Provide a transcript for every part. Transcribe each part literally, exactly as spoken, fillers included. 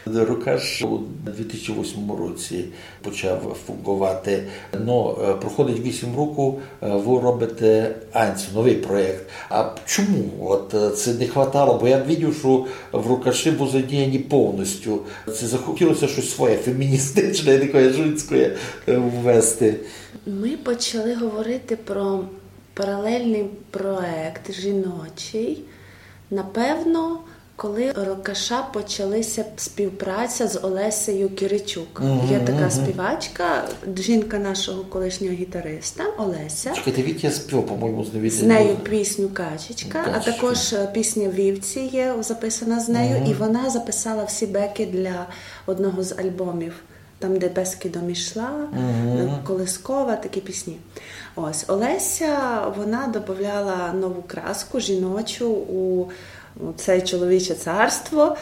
Рокаш у дві тисячі восьмому році почав фунґовати. Но, е, проходить вісім року, е, вы робите Анцю, новый проєкт. А чому? От, е, ци не хватало, бо я видів, што в Рокаши вы задіяні повністю. Ци захотіло ся штось своє, феміністичне, таке жінське, е, ввести. Ми почали говорити про паралельний проєкт жіночий, напевно, коли Рокаша почалася співпраця з Олесею Киричук. Є така співачка, жінка нашого колишнього гітариста Олеся. Чекайте, Вітя співав, по-моєму, з З нею пісню «Качечка», а також е, пісня «Вівці» є записана з нею, і вона записала всі беки для одного з альбомів. Там, де «Бескидом йшла», е, «Колискова», такі пісні. Ось, Олеся, вона додавала нову краску жіночу у, у це чоловіче царство.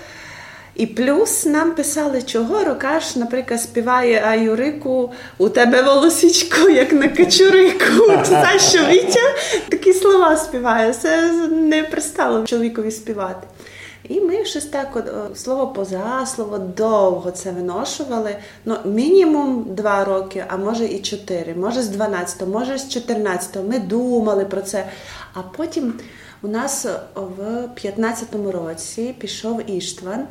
І плюс нам писали, чого Рокаш, наприклад, співає «А Юрику, у тебе волосічко, як на качурику». Ти знаєш, що Вітя такі слова співає. Це не пристало чоловікові співати. І ми щось так, от, е, слово поза слово, довго це виношували. Ну, мінімум два роки, а може і чотири, може з дванадцятого, може з чотирнадцятого. Ми думали про це. А потім у нас в п'ятнадцятому році пішов Іштван,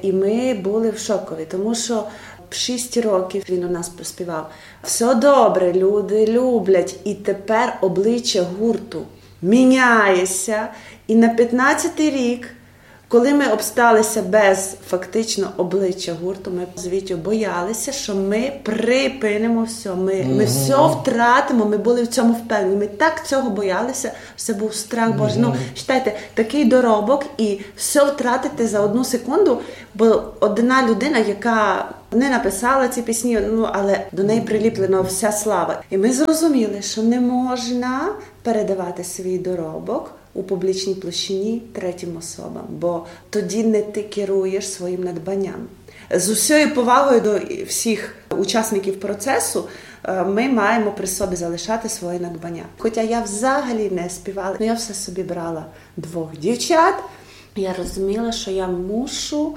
і ми були в шокові, тому що шість років він у нас проспівав. Все добре, люди люблять, і тепер обличчя гурту міняється, і на п'ятнадцятий рік, коли ми обсталися без фактично обличчя гурту, ми з Вітєю боялися, що ми припинимо все, ми, ми все втратимо, ми були в цьому впевнені. Ми так цього боялися, що це був страх Божий. Ну, читайте, такий доробок і все втратити за одну секунду, бо одна людина, яка не написала ці пісні, ну, але до неї приліплена вся слава. І ми зрозуміли, що не можна передавати свій доробок у публічній площині третім особам, бо тоді не ти керуєш своїм надбанням. З усією повагою до всіх учасників процесу, е, ми маємо при собі залишати своє надбання. Хоча я взагалі не співала, але я все собі брала двох дівчат. Я розуміла, що я мушу,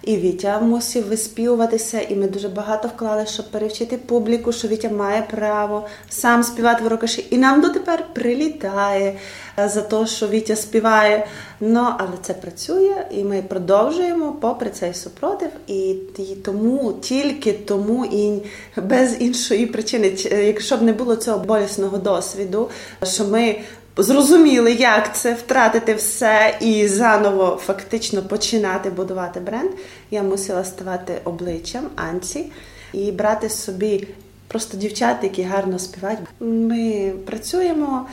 і Вітя мусив виспівуватися, і ми дуже багато вклали, щоб перевчити публіку, що Вітя має право сам співати в Рокаші. І нам дотепер прилітає, е, за те, що Вітя співає. Ну, але це працює, і ми продовжуємо попри цей супротив. І, і тому, тільки тому, і без іншої причини, ч-, якщо б не було цього болісного досвіду, що ми зрозуміли, як це втратити все і заново фактично починати будувати бренд, я мусила ставати обличчям Анці і брати собі просто дівчат, які гарно співають. Ми працюємо,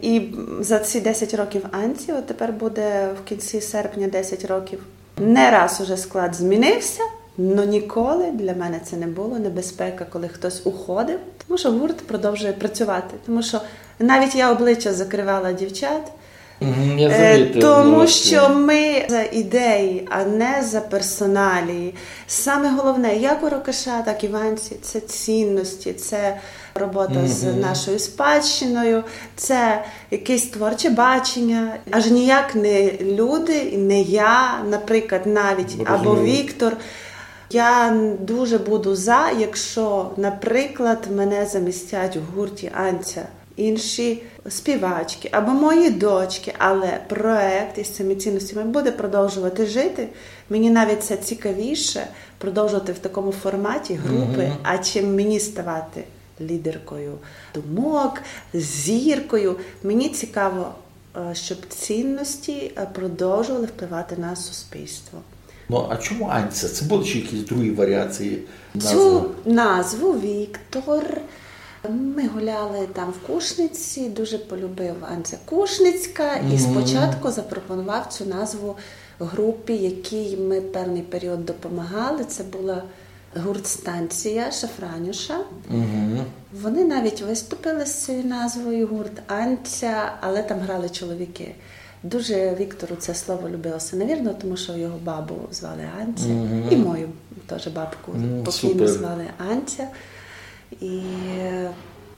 і за ці десять років Анці, от тепер буде в кінці серпня десять років, не раз уже склад змінився, але ніколи для мене це не було небезпека, коли хтось уходив, тому що гурт продовжує працювати. Тому що навіть я обличчя закривала дівчат, Мгм, я е, замітив, тому ну, що ми за ідеї, а не за персоналії. Саме головне, як у Рокаша, так і в Анці, це цінності, це робота з нашою спадщиною, це якесь творче бачення. Аж ніяк не люди, не я, наприклад, навіть, або Віктор. Я дуже буду за, якщо, наприклад, мене замістять в гурті Анця інші співачки або мої дочки, але проєкт із цими цінностями буде продовжувати жити. Мені навіть це цікавіше продовжувати в такому форматі групи, а чим мені ставати лідеркою думок, зіркою. Мені цікаво, е, щоб цінності, е, продовжували впливати на суспільство. Ну, а чому Анця? Це були ще якісь другі варіації Цю назви? Назву Віктор ми гуляли там в Кушниці, дуже полюбив Анця Кушницька і спочатку запропонував цю назву групі, якій ми певний період допомагали. Це була гурт «Станція» Шафранюша. Вони навіть виступили з цією назвою, гурт «Анця», але там грали чоловіки. Дуже Віктору це слово любилося, навірно, тому що його бабу звали Анця, і мою теж бабку покійну звали Анця. І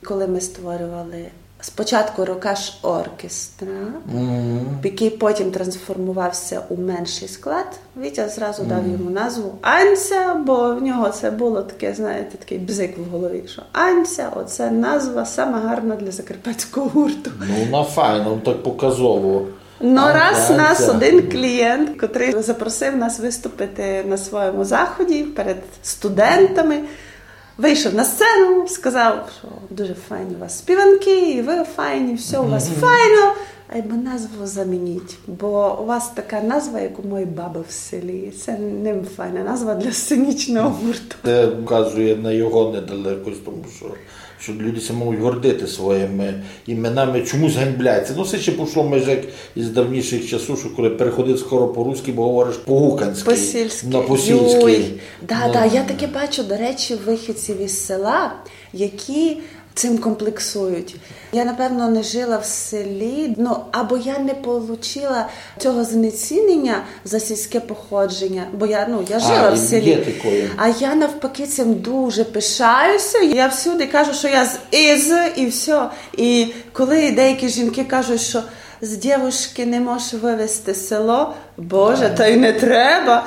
коли ми створювали Спочатку Рокаш оркестра, який потім трансформувався у менший склад. Вітя зразу дав йому назву Анця, бо в нього це було таке, знаєте, такий бзик в голові, що Анця, оце назва сама гарна для закарпатського гурту. Ну, вона файна, ну, так показово. Но раз нас один клієнт, котрий запросив нас виступити на своєму заході перед студентами, вийшов на сцену, сказав, що дуже файні у вас співанки, і ви файні, все у вас файно. Айбо назву замініть, бо у вас така назва, як у моєї баби в селі. Це не файна назва для сценічного гурту. Це вказує на його недалекость, тому що, що люди ся можуть гордити своїми іменами, чомусь ганьбляться. Ну, це ще пішло майже як із давніших часів, що коли переходить скоро по-руськи, бо говориш по-гуканськи. По-сільськи. На по-сільськи. Юй. Да, да, я таке бачу, до речі, вихідців із села, які цим комплексують. Я, напевно, не жила в селі, ну, або я не получила цього знецінення за сільське походження, бо я, ну, я жила А, в селі. Є такої. А я навпаки цим дуже пишаюся. Я всюди кажу, що я з Ізы і все. І коли деякі жінки кажуть, що з дівушки не можеш вивезти село, Боже, та й не треба.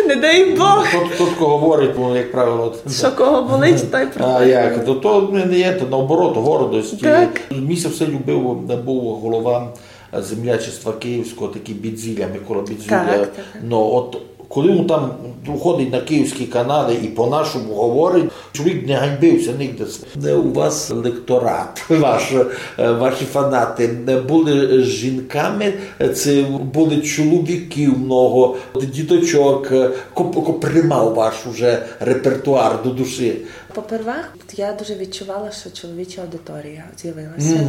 Не дай Бог. Тут, тут кого говорить, ну, як правило, от, Що кого болить, той А приходить. Як? То, то не є, то наоборот, гордость. Так. Мені ся все любив, був голова землячества київського, такий Бідзіля, Микола Бідзіля. Так, так, так. Ну, от коли він там виходить на київські канали і по-нашому говорить, чоловік не ганьбився нігде. Не у вас лекторат, ваш, е, ваші фанати не були жінками, це були чоловіки много, діточок, е, ко, ко приймав ваш уже репертуар до душі. Попервах, я дуже відчувала, що чоловіча аудиторія з'явилася.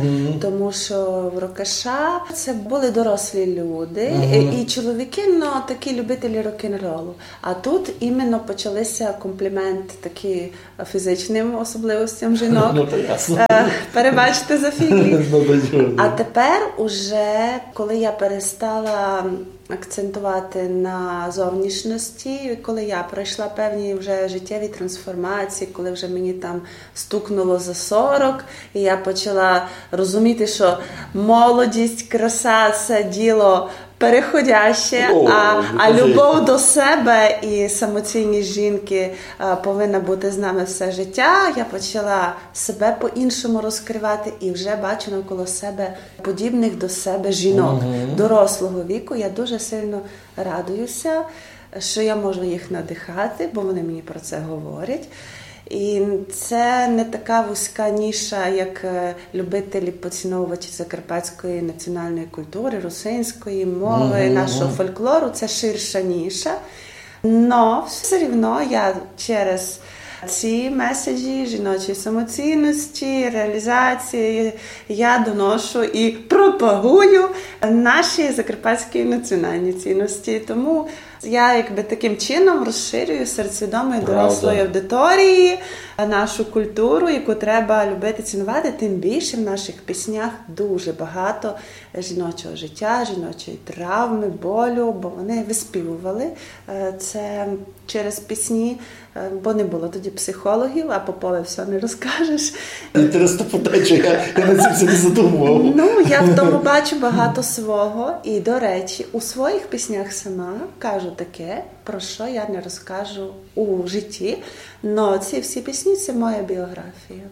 Тому що в Рокаша це були дорослі люди, і, і чоловіки, ну, такі любителі рок-н-ролу. А тут іменно почалися компліменти такі фізичним особливостям жінок. Ну, то ясно. Е, Перебачте за фіглі. Ну, то чого? А тепер уже, коли я перестала акцентувати на зовнішності, коли я пройшла певні вже життєві трансформації, коли вже мені там стукнуло за сорок, і я почала розуміти, що молодість, краса — це діло переходяще, О, а, ну, а кажи. Любов до себе і самоцінність жінки, а, повинна бути з нами все життя. Я почала себе по-іншому розкривати і вже бачу навколо себе подібних до себе жінок дорослого віку. Я дуже сильно радуюся, що я можу їх надихати, бо вони мені про це говорять. І це не така вузька ніша, як, е, любителі, поціновувачі закарпатської національної культури, русинської мови, нашого фольклору. Це ширша ніша. Но все рівно я через ці меседжі жіночої самоцінності, реалізації, я доношу і пропагую наші закарпатські національні цінності. Тому я якби таким чином розширюю серед свідомої дорослої аудиторії нашу культуру, яку треба любити, цінувати. Тим більше в наших піснях дуже багато жіночого життя, жіночої травми, болю, бо вони виспівували, е, це через пісні, е, бо не було тоді психологів, а Попови все не розкажеш. Інтересна подача, я, я над цим ся не задумував. Ну, я в тому бачу багато свого. І, до речі, у своїх піснях сама кажу таке, про що я не розкажу у житті. Но ці всі пісні — це моя біографія.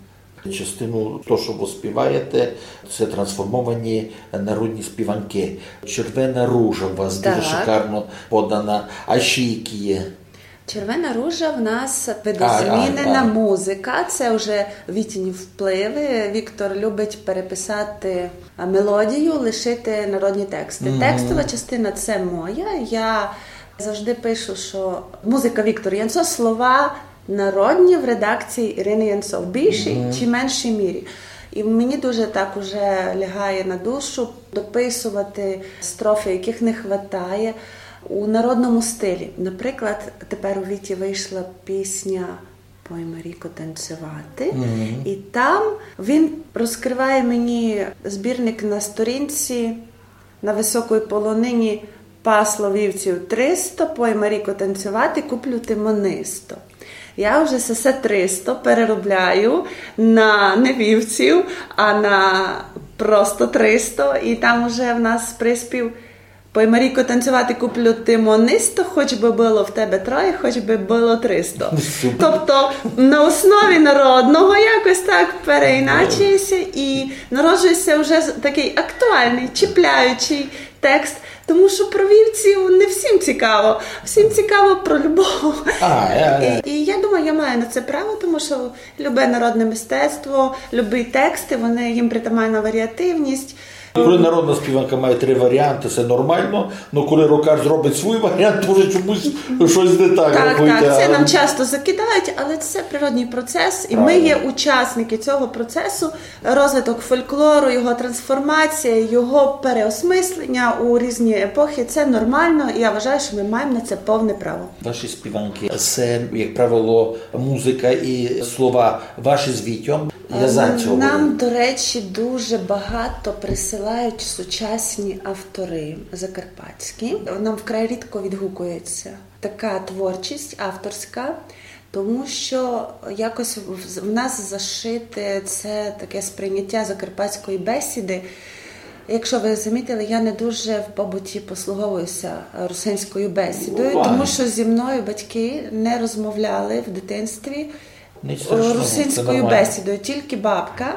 Частину того, що ви співаєте, це трансформовані народні співанки. Червена ружа у вас дуже Так. Шикарно подана. А ще які є? Червена ружа в нас видозмінена А, а, а. Музика. Це вже Вітіні впливи. Віктор любить переписати, а, мелодію, лишити народні тексти. Текстова частина — це моя. Я завжди пишу, що музика — Віктор Янцо, слова народні в редакції Ірини Янцо в більшій чи меншій мірі. І мені дуже так уже лягає на душу дописувати строфи, яких не хватає у народному стилі. Наприклад, тепер у Віті вийшла пісня «Пой, Марійко, танцювати». І там він розкриває мені збірник на сторінці: «На високій полонині пасло вівців триста, пой, Марійко, танцювати, куплю ти монисто». Я вже сесе тристо переробляю на не вівців, а на просто тристо. І там уже в нас приспів: «Пой, Марійко, танцювати куплю ти монисто, хоч би было в тебе троє, хоч би было тристо». Тобто на основі народного якось так переіначує ся, і народжує ся вже з- такий актуальний, чіпляючий текст, тому що про вівців не всім цікаво, всім цікаво про любов. А, е, е. І, і я думаю, я маю на це право, тому що любе народне мистецтво, любі тексти, вони, їм притаманна варіативність. Коли народна співанка має три варіанти, це нормално. Ну коли рокаш зробить свій варіант, то вже чомусь щось не так. Так, рахуйте, так, це а- нам часто закидають, але це природній процес, і ми Правильно. Є учасники цього процесу, розвиток фольклору, його трансформація, його переосмислення у різні епохи. Це нормально, і я вважаю, що ми маємо на це повне право. Ваші співанки, це, як правило, музика і слова ваші з Вітьом. Я за цього. Нам, до речі, дуже багато присилають сучасні автори закарпатські. Нам вкрай рідко відгукується така творчість авторська, тому що якось в, в нас зашите це таке сприйняття закарпатської бесіди. Якщо ви замітили, я не дуже в побуті послуговуюся русинською бесідою, Ну, тому ладно. Що зі мною батьки не розмовляли в дитинстві Нічого страшного, це русинською нормально. Бесідою, тільки бабка.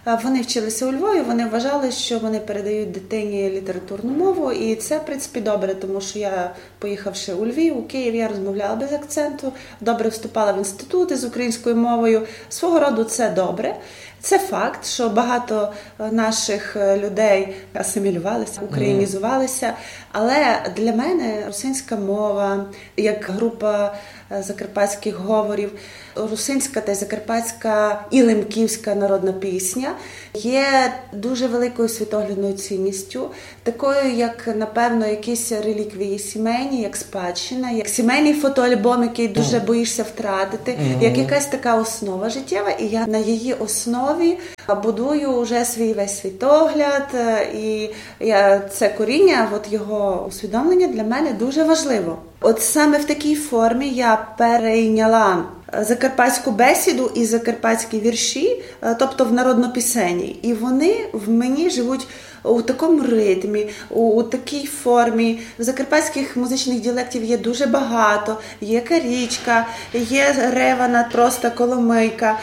А вони вчилися у Львові, вони вважали, що вони передають дитині літературну мову, і це, в принципі, добре, тому що я, поїхавши у Львів, у Київ, я розмовляла без акценту, добре вступала в інститути з українською мовою. Свого роду це добре. Це факт, що багато е, наших е, людей асимілювалися, українізувалися. Але для мене русинська мова, як група е, закарпатських говорів, русинська та закарпатська і лемківська народна пісня є дуже великою світоглядною цінністю, такою, як, напевно, якісь реліквії сімейні, як спадщина, як сімейний фотоальбом, який дуже боїшся втратити, як якась така основа життєва, і я на її основі будую вже свій весь світогляд, е, і я, це коріння, от його усвідомлення для мене дуже важливо. От саме в такій формі я перейняла е, закарпатську бесіду і закарпатські вірші, е, тобто в народнопісенні. І вони в мені живуть у такому ритмі, у, у такій формі. В закарпатських музичних діалектів є дуже багато. Є карічка, є ревана, просто коломийка,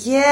є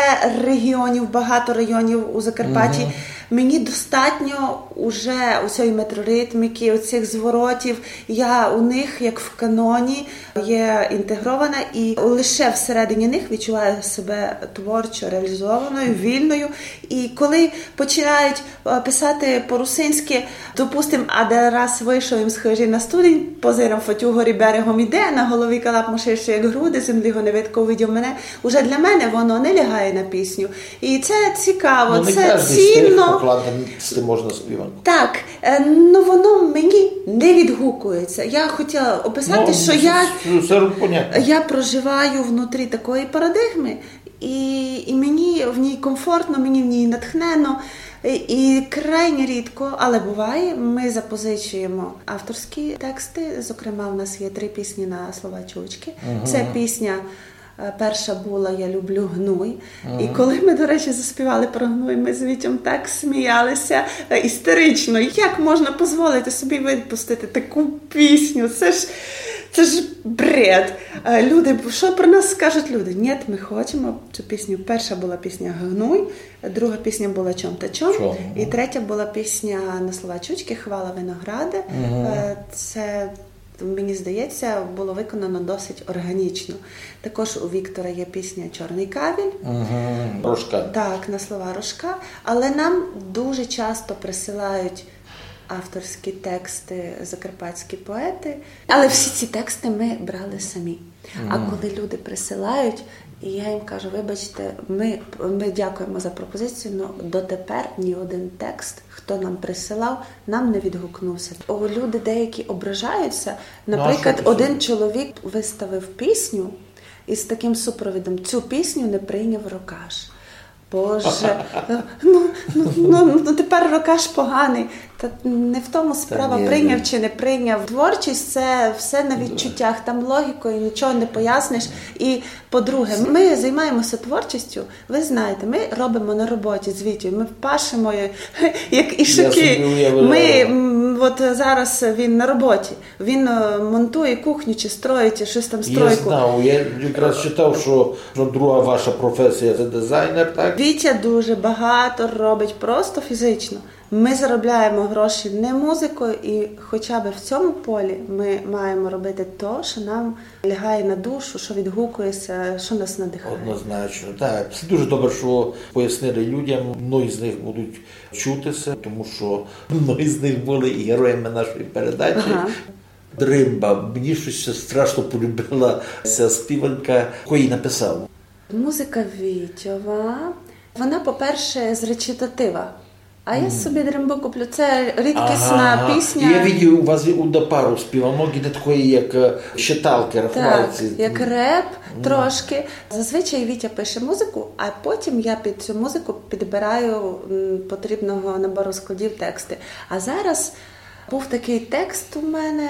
регіонів, багато районів у Закарпатті. Мені достатньо уже у цієї метроритміки, у цих зворотів. Я у них, як в каноні, є інтегрована, і лише всередині них відчуваю себе творчо реалізованою, вільною. І коли починають е, писати по-русинськи, допустим, а де раз вийшов їм з хижі на студень, позирам, фотю горі берегом іде, на голові калап мошище, як груди, землі го не видко, увидів мене. Уже для мене воно не лягає на пісню. І це цікаво, Ну, не це кожен з тих цінно. покладеності можна співанку. Так, е, ну воно мені не відгукується. Я хотіла описати, Ну, що це- я, це, це понятно. я проживаю внутрі такої парадигми, і, і мені в ній комфортно, мені в ній натхнено. І, і крайне рідко, але буває, ми запозичуємо авторські тексти. Зокрема, в нас є три пісні на слова чучки. Це пісня е, перша була «Я люблю гнуй». І коли ми, до речі, заспівали про гнуй, ми з Вітьом так сміялися е, істерично. Як можна дозволити собі випустити таку пісню? Це ж, це ж бред. Е, Люди, що про нас скажуть люди? Ні, ми хочемо цю пісню. Перша була пісня «Гнуй», друга пісня була «Чом та чом», «Чом», і третя була пісня на слова чучки «Хвала винограде». Е, Це, мені здається, було виконано досить органічно. Також у Віктора є пісня «Чорний кавіль». Мгм. Рожка. Так, на слова Рожка. Але нам дуже часто присилають авторські тексти закарпатські поети. Але всі ці тексти ми брали самі. А коли люди присилають, і я їм кажу: «Вибачте, ми, ми дякуємо за пропозицію, але дотепер ні один текст, хто нам присилав, нам не відгукнувся». О, люди деякі ображаються. Ну, а Наприклад, що ти один собі? Чоловік виставив пісню із таким супровідом: «Цю пісню не прийняв Рокаш». Боже, ну, ну, ну, ну, тепер рокаш поганый. Та не в тому справа, ні, прийняв чи не прийняв. Творчість — це все на відчуттях, там логікою нічого не поясниш. І, по-друге, ми займаємося творчістю. Ви знаєте, ми робимо на роботі з Вітєю, ми пашемо, як і шуки. Ми, м, от зараз він на роботі. Він е, монтує кухню чи строїть, чи щось там, стройку. Я знав, я якраз читав, що, що друга ваша професія — це дизайнер, так? Вітя дуже багато робить просто фізично. Ми заробляємо гроші не музикою, і хоча б в цьому полі ми маємо робити то, що нам лягає на душу, що відгукується, що нас надихає. Однозначно, так. Це дуже добре, що пояснили людям. Многі з них будуть чутися, тому що многі з них були і героями нашої передачі. Ага. Дримба. Мені щось страшно полюбила ця співанка. Хто її написав? Музика Вітьова. Вона, по-перше, з речитатива. А я собі дримбу куплю. Це рідкісна пісня. Я видів, у вас є удна пару співанок, і не такої, як е, читалки, рахувалці. Так, як реп трошки. Зазвичай Вітя пише музику, а потім я під цю музику підбираю м, потрібного набору складів тексти. А зараз був такий текст у мене.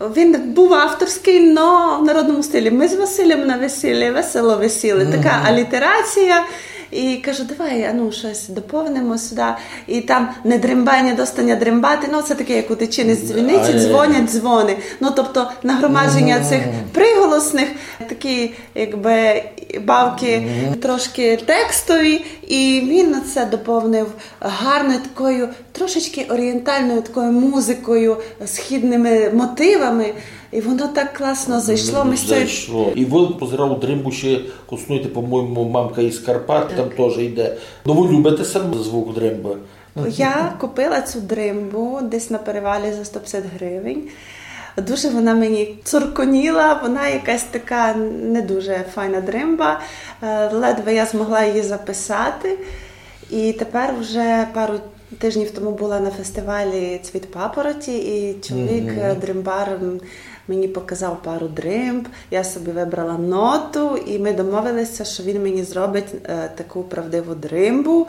Він був авторський, но в народному стилі. Ми з Василем на весіллі весело висіли. Така алітерація. І кажу, давай, а ну, щось доповнимо сюди. І там не дримбай, не доста ня дримбати. Ну, це таке, як у дитини з дзвіниці, дзвонять дзвони. Ну, тобто нагромадження цих приголосних, такі, якби, бавки трошки текстові. І він це доповнив гарною такою трошечки орієнтальною такою музикою, східними мотивами. І воно так класно зайшло. Ми з цією... Зайшло. І ви, позирав, дримбу ще коснуєте, по-моєму, «Мамка із Карпат», там теж йде. Ну, ви любите сам звук дримби? Я купила цю дримбу десь на перевалі за сто пятдесят гривень. Дуже вона мені цурконіла, вона якась така не дуже файна дримба. Е, ледве я змогла її записати. І тепер вже пару тижнів тому була на фестивалі «Цвіт папороті», і чоловік, е, дримбар, м, мені показав пару дримб. Я собі вибрала ноту, і ми домовилися, що він мені зробить е, таку правдиву дримбу.